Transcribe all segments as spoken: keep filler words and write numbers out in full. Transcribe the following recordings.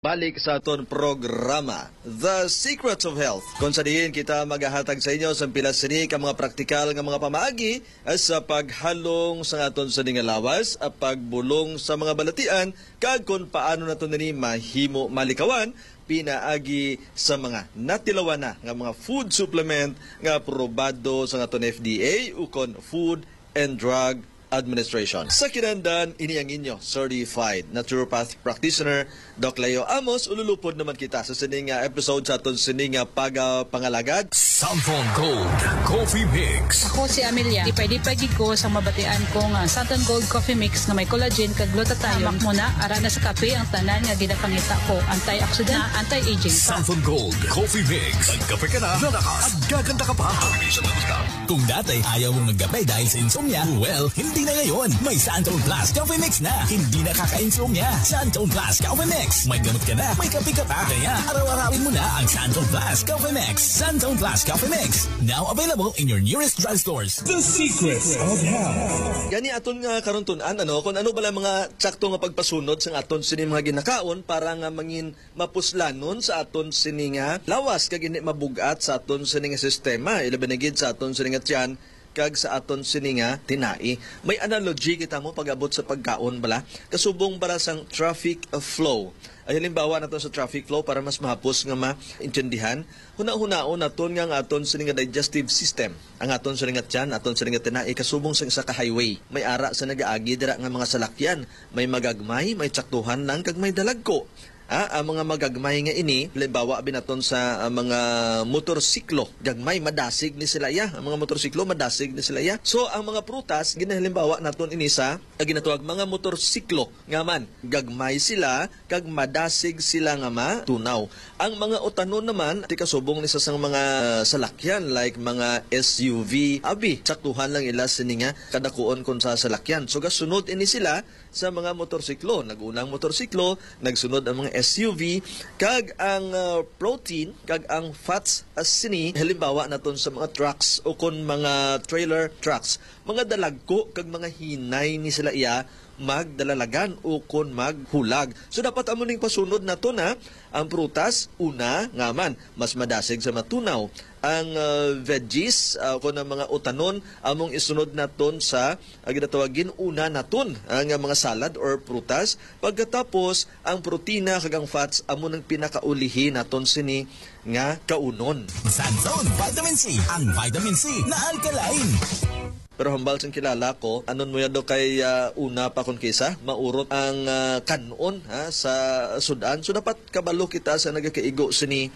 Balik sa aton programa, The Secrets of Health, kung sa diin kita magahatag sa inyo sa pila sini ka mga praktikal nga mga pamaagi sa paghalong sa aton sini nga lawas, pagbulong sa mga balatian, kag kung paano nato nini mahimo malikawan pinaagi sa mga natilawan na nga mga food supplement nga aprobado sa aton F D A ukon Food and Drug Administration. Sa kinahanglan, ini ang inyo certified naturopath practitioner, Doc Leo Amos. Ululupod naman kita sa sini nga episode sa aton sini nga pagapangalagad. Santon Gold Coffee Mix. Ako si Amelia. Lipay-lipay gid ko sa mabatian ko nga Santon Gold Coffee Mix nga may collagen kag glutathione. Hamak mo na, ara na sa kape ang tanan nga ginapangita ko. Antioxidant, anti-aging. Santon Gold Coffee Mix. Nagkape ka na, lalakas at gaganda ka pa. Kung dati, ayaw mong magkape dahil sa insomnia, well, hindi na ngayon. May Santon Plus Coffee Mix na. Hindi nakaka-insomnia. Santon Plus Coffee Mix. May gamot ka na, may kape ka pa. Kaya, araw-arawin mo na ang Santon Plus Coffee Mix. Santon Plus Coffee Mix. Now available in your nearest drugstores. The Secrets of Health. Gani aton nga karon tun-an, ano, kung ano bala mga tsakto nga pagpasunod sang aton sini mga ginakaon para nga mangin mapuslanon sa aton sini nga lawas kag hindi mabug-at sa aton sini nga sistema, ilabi na gid sa aton sini nga tiyan kag sa aton sini nga tinai. May analogy kita mo pag-abot sa pagkaon bala, kasubong para sang traffic flow. Ay, halimbawa naton sa traffic flow para mas mahapos nga maintindihan, hunahunaon naton nga ang aton sini nga digestive system, ang aton sini nga tiyan, aton sini nga tinai, kasubong sa isa ka highway. May ara sa nagaagi dira nga mga salakyan, may magagmay, may tsaktuhan lang, kag may dalagko. Ah, ang mga magagmay nga ini, halimbawa, binaton sa, ah, mga motorsiklo, gagmay, madasig ni sila iya. Ang mga motorsiklo, madasig ni sila iya. So, ang mga prutas, ginahalimbawa naton ini sa, ang ginatawag mga motorsiklo. Nga man, gagmay sila, kag madasig sila nga matunaw. Ang mga utanon naman, ti kasubong ni sa sang mga salakyan, like mga S U V, abi, saktuhan lang ila sini nga kadakuon kon sa salakyan. So, gasunod ini sila sa mga motorsiklo. Nag-una ang motorsiklo, nagsunod ang mga S U V, kag ang, ah, protein, kag ang fats, ah, sini, halimbawa naton sa mga trucks o kon mga trailer trucks. Mga dalagko kag mga hinay ni sila iya magdalalagan o kon maghulag. So, dapat amo ning pasunod naton, ha. Ang prutas, una, nga man, mas madasig sa matunaw. Ang, ah, veggies, ah, kon ang mga utanon, among isunod naton sa, ah, ginatawag, gin-una naton, ah, nga mga salad or prutas. Pagkatapos, ang protina kag ang fats amo nang pinakaulihi naton sini nga kaunon. Santon Vitamin C, ang vitamin C na alkaline. Pero hambal sang kilala ko, anon mo yan daw kay, ah, una pa kon kisa, maurot ang, ah, kan-on, ha, sa sud-an. So, dapat kabalo kita sa nagakaigo sini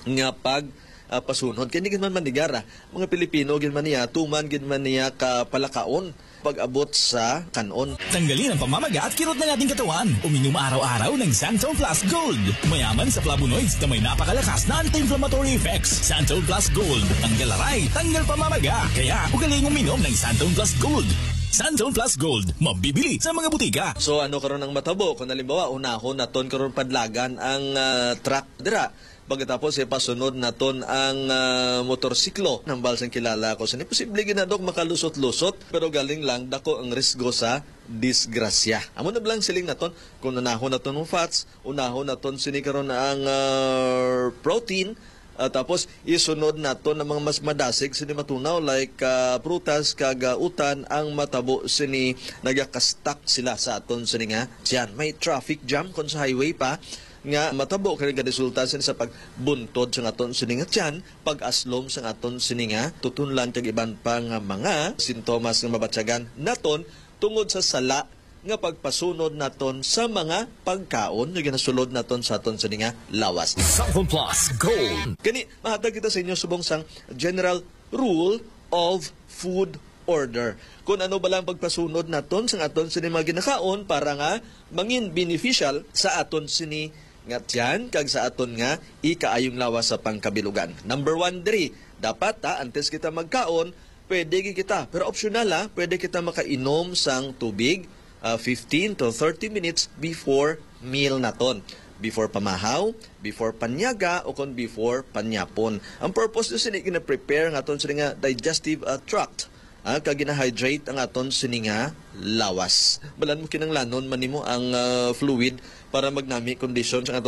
nga pag, ah, pasunod. Kay hindi gid man manigara, mga Pilipino gid man niya, tuman gid man niya ka palakaon pag-abot sa kan-on. Tanggalin ang pamamaga at kirot ng ating katawan. Uminom araw-araw ng Santon Plus Gold. Mayaman sa flavonoids na may napakalakas na anti-inflammatory effects. Santon Plus Gold. Tanggal aray, tanggal pamamaga. Kaya, ugaling uminom ng Santon Plus Gold. Santon Plus Gold, mabibili sa mga butika. So, ano karon ang matabo? Kung halimbawa, unahon naton karon padlagan ang, ah, truck dira. Pagkatapos, ipasunod naton ang, ah, motorsiklo. Nambal sang kilala ko. Sini, posible gid na, Dok, makalusot-lusot, pero galing lang, dako ang risgo sa disgrasya. Amo na lang siling naton, kung unahon naton ang fats, unahon naton sini karon ang, ah, protein, ah, tapos isunod naton ang mga mas madasig sini matunaw, like, ah, prutas kag, ah, utan, ang matabo sini nagakastak sila sa aton sini nga tiyan. May traffic jam kon sa highway pa, nga matabo kay nagaresulta sini sa pagbuntod sa aton sini nga tiyan, pag-aslom sa aton sini nga tutunlan kag iban pa nga mga sintomas nga mabatyagan naton tungod sa sala nga pagpasunod naton sa mga pagkaon nga ginasulod naton sa aton sini nga lawas. Santon Plus Gold. Kani, mahatag kita sa inyo subong sang general rule of food order. Kung ano ba lang pagpasunod naton sa aton sini mga ginakaon para nga mangin beneficial sa aton sini nga tiyan kag sa aton nga ikaayong lawas sa pangkabilugan. Number one diri, dapat, ha, antes kita magkaon, pwede gid kita, pero optional, ha, pwede kita makainom sang tubig, ah, fifteen to thirty minutes before meal naton. Before pamahaw, before panyaga, o kon before panyapon. Ang purpose ni sini, gina-prepare ang aton sini nga digestive, ah, tract. ah, kag gina-hydrate ang aton sini nga lawas. Balan mo, kinahanglanon man nimo ang, ah, fluid para magnami kondisyon sa aton